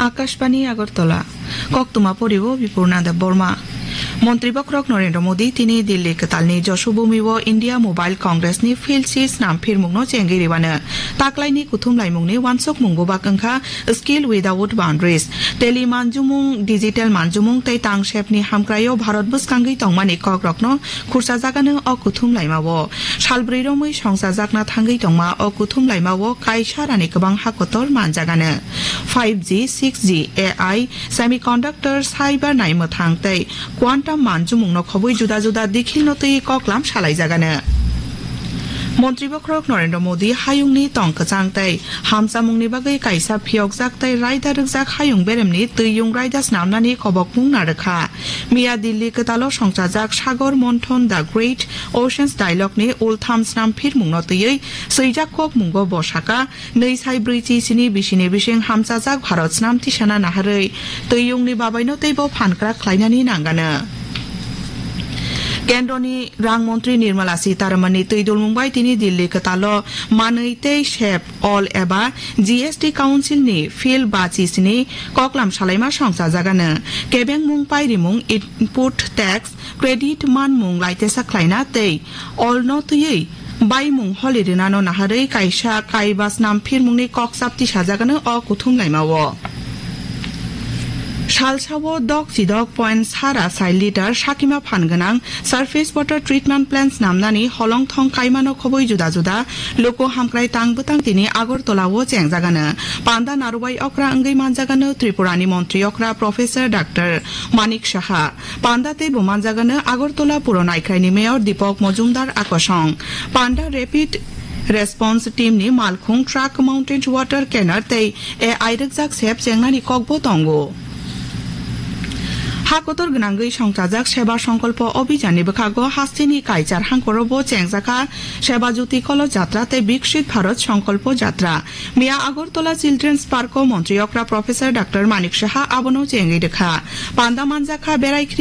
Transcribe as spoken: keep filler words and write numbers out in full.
Akashbani Agartala. Koktwma poriwo Bipurnanda Borma. Montri Bokhorok Narendra Modi tini Delhi kwtalni Joshobhumi o India Mobile Congress ni Field Six nam phirmungno chengwi ribano. Taklaini kuthum laimungni wansukmung bubak wngkha Skill Without Boundaries. Teli manjumung, digital manjumung tei tangsepni hamkraio Bharat bwskangwi tongmani kokrokno khursa jagano o kuthum laimao. Salbrwi romwi songchajakna thangwi tongma o kuthum laimao kaisa rani kwbang hakotor manjagano. Five G, six G, A I, semiconductor, cyber naimwthang tei quantum manjumungno khobwi juda juda dikhilno twi koklam salaijagano. Montri Bokhorok Narendra Modi hayungni tong kwchang tei hamchamungni bagwi kaisa phiyokjak tei raida rwkjak hayung beremni twiyung raida snamnani kobokmung narwkha. Miya Delhi kwtalo songchajak Sagor Monthon The Great Oceans Dialogue ni ultham snam phirmungno twiwi swijak kokmungo bo saka, nwi sai brwi chi sini bisini bising hamchajak Bharat snam tisana naharwi twiyungni babaino teibo phankrak khlainani nangano. Kendroni Rang Montri Nirmala Sitaramanni twi dulmung bai tini Delhi kwtalo manwi tei sep ol eba G S T Council ni field bachi sini koklam salaima songchajagano. Kebengmung pairimung, input tax, credit manmung laitesa khlaina tei olno twiwi baimung holi rinano naharwi kaisa kaiba snam phirmungni kokchap tisajagano o kuthum laimao. Salsao dok chidok point sara sai litre sakima phan gwnang surface water treatment plant snamnani holongthong kaimano khobwi juda juda luku hamkrai tang bwtang tini Agartala o chengjagano. Panda narwai okra wngwi manjagano Tripurani montri okra Professor Doctor Manik Saha. Panda tei bo manjagano Agartala Puro Naikhraini Mayor Deepak Majumdar akosong. Panda Rapid Response Team ni malkhung truck mounted water canner tei A I rwkjak sep chengnani kokbo tongo. Ha kotor gwnangwi songchajak Seba Songkolpo Abhijan ni bwkhago hasteni kaichar hangkorobo chengjakha Seba Jyoti Kolo Jatra tei Bikshit Bharat Songkolpo Jatra. Miya Agartala Children's Park o montri okra Professor Doctor Manik Saha abono chengwi rwkha. Panda manjakha berai